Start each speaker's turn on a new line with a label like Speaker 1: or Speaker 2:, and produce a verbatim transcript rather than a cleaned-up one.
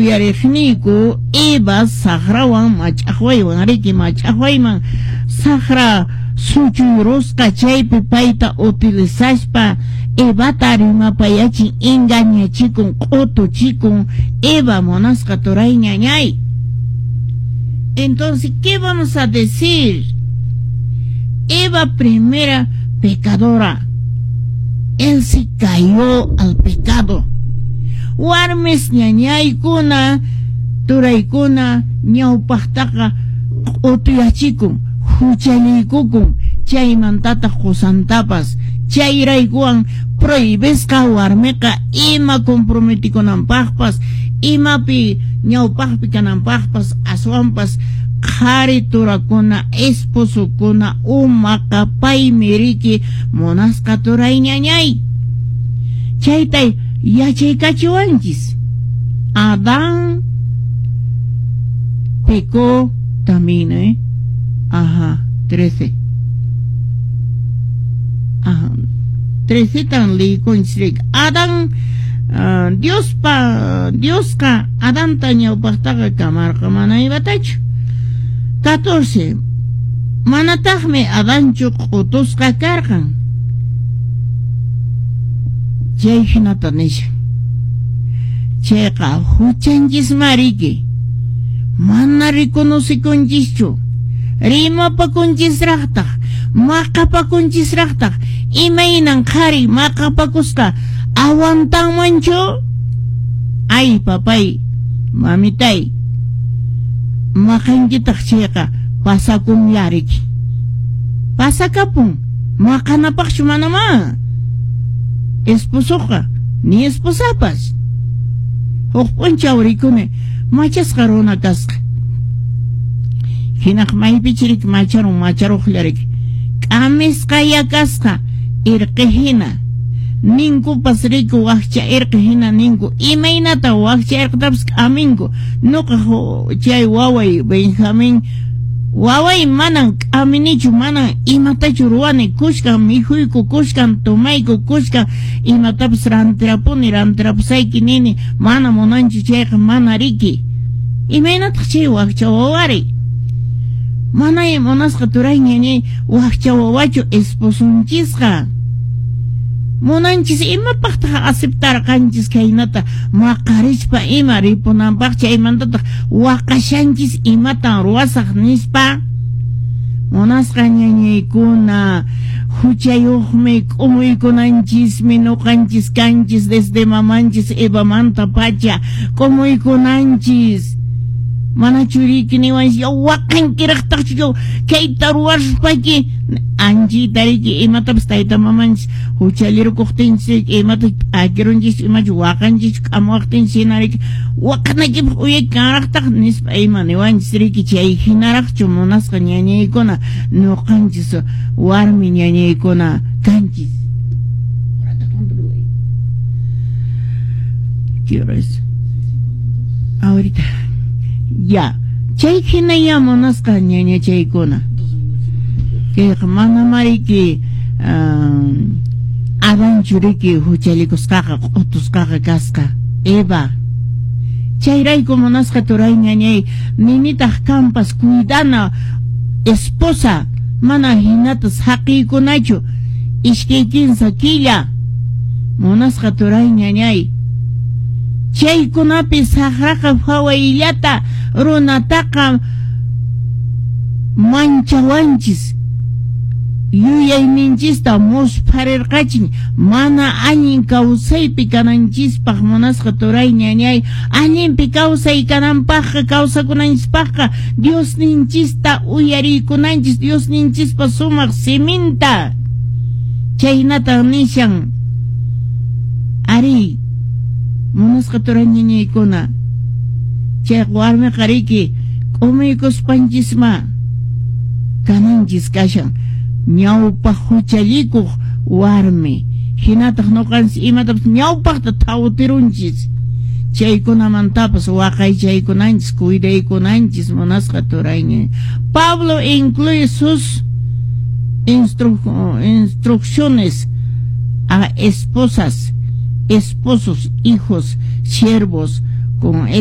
Speaker 1: Uyariqniyku Eva saqrawan mach'aqwaywan riki mach'aqwayman saqra suchuyrusqa chaypi payta utilizaspa Evata rimapayachin engañachikun q'utuchikun Eva munasqa turay ñañay. Entonces, ¿qué vamos a decir? Eva primera pecadora. Él se cayó al pecado. Warmis ñañaykuna turaykuna ñawpaqtaqa q'utuyachikun huchalliykukun chaymantataq qusantapas chayraykuwan prohibisqa warmiqa ima comprometikunanpaqpas imapi ñawpaqpi kananpaqpas aswanpas qhari turakuna esposokuna umaqa paymi riki munasqa turay ñañay chaytay yachaykachiwanchis. Adán pecó también, ¿eh? Ajá, trece. Ajá, trece tan liykunchis. Adán, uh, Diospa, Diosqa Adanta ñawpaqtaqa kamarqa mana Evatachu. catorce. Manataqmi Adanchu q'utusqa karqan. Chay hinata nishan. Chayqa huchanchisma riki. Mana reconocikunchischu. Rimapakunchisraqtaq, maqapakunchisraqtaq. Imaynan qhari maqapakusqa aguantanmanchu? Ay papay, mamitay. Maqankitaq chayqa pasakunlla riki. Pasakapun, maqanapaqchu manamá. Esposoqa, ni esposapas. Huk p'unchaw rikuni machasqa runa kasqa. Hinaq maypichi riki macharun macharuqlla riki. K'amisqaya kasqa irqi hina. Ninkupas riki wakcha irqi hina ninku. Imaynata wakcha irqitapas k'aminku. Nuqa chay waway Benjamín waway manan k'aminichu manan imatachu ruwani kushkan mikhuyku kushkan tomayku kushkan imatapas rantirapuni rantirapusayki nini mana munanchu chayqa mana riki. Imaynataq chay wakcha wawari? Mana munasqa turay ñañay wakcha wawachu esposunchisqa. Munanchis imapaqtaq aceptarqanchis khaynata maqarispa ima ripunanpaq chaymantataq waqashanchis imatan ruwasaq nispa. Munasqa ñañaykuna huchayuqmi k'umuykunanchismi nuqanchis kanchis desde mamanchis Evamanta pacha k'umuykunanchis. Mana churiki niwanchis yaw waqankiraqtaqchu yaw kayta ruwaspayki anchita riki imatapas tayta mamanchis huchallirukuqtinchis imata p'akirunchis imachu waqanchis k'amuwaqtinchis hina riki waqanaykipaq uyayki kanraqtaq nispa ima niwanchis riki chay hinaraqchu munasqa ñañaykuna nuqanchis warmi ñañaykuna kanchis. ¿Qué hora es? Ahorita. Ya, chay hinaya munasqa ñañachaykuna. Kayqa mana mariki Adanchu riki huchallikusqaqa q'utusqaqa kasqa Eva. Chayrayku munasqa turay ñañay ninitaq kanpas cuidana esposa mana hinata saqiykunachu iskay kinsa killa munasqa turay ñañay. Chaykunapi saqraqa phawayllata runataqa manchawanchis yuyayninchista muspharirqachin mana allin kawsaypi kananchispaq munasqa turay ñañay allinpi kawsay kananpaqqa kawsakunanchispaqqa Diosninchista uyariykunanchis Diosninchispa sumaq siminta chaynatan nishan ari munasqa turay ñañaykuna chay warmiqa riki k'umuykuspanchisma kananchis kashan ñawpaq huchallikuq warmi hinataq nuqanchis imatapas ñawpaqta thawtirunchis chaykunamantapas waqaychaykunanchis cuidaykunanchis munasqa turay ñañay. Pablo incluye sus instru instrucciones a esposas, esposos, hijos, siervos con